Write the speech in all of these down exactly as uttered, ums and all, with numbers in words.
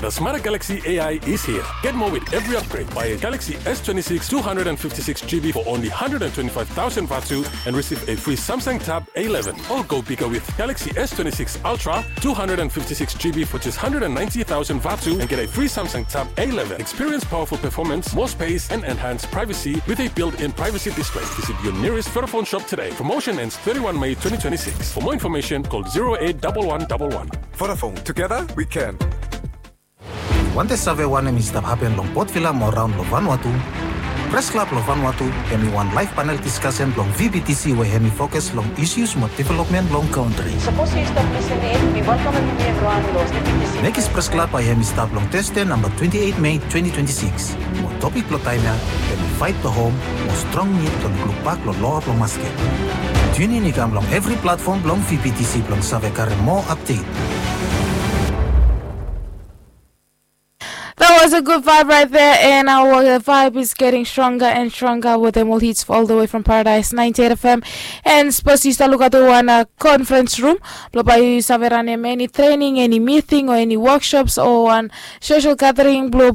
A smarter Galaxy A I is here. Get more with every upgrade. Buy a Galaxy S twenty-six two hundred fifty-six G B for only one hundred twenty-five thousand vatu and receive a free Samsung Tab A eleven. Or go bigger with Galaxy S twenty-six Ultra two hundred fifty-six G B for just one hundred ninety thousand vatu and get a free Samsung Tab A eleven. Experience powerful performance, more space, and enhanced privacy with a built-in privacy display. Visit your nearest Vodafone shop today. Promotion ends thirty-one May twenty twenty-six. For more information, call zero eight double one double one. Vodafone, together we can. Wantem save wanem i stap hapen long Port Vila mo raon long Vanuatu? Pres Klab long Vanuatu hemi wan live panel diskasen blong V B T C we hemi fokus long issues mo development long kantri. Sapos yu stap lisening, mi welkamem yumi evriwan long V B T C. Mekis Pres Klab bae hemi stap long Tasde namba twenti eit Mei twenti twenti sikis. Mo topik blong taem ya hemi Fight the Home mo strong nid blong lukbak long loa blong masket. Tune in i kam long evri platfom blong V B T C blong save karem moa update. That was a good vibe right there, and our vibe is getting stronger and stronger with them all hits all the way from Paradise ninety-eight F M. And suppose you start look at the one uh, conference room, blo bae yu save ranem any training, any meeting, or any workshops, or one social gathering, blo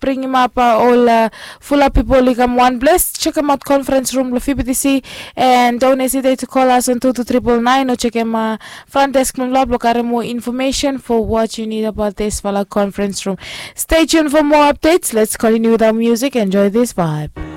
bringim up uh, all uh, full up people i kam one place. Check them out conference room blo V B T C, and don't hesitate to call us on two two triple nine or check them uh, front desk blo blo karem more information for what you need about this fala conference room. Stay tuned for more updates. Let's continue with our music. Enjoy this vibe.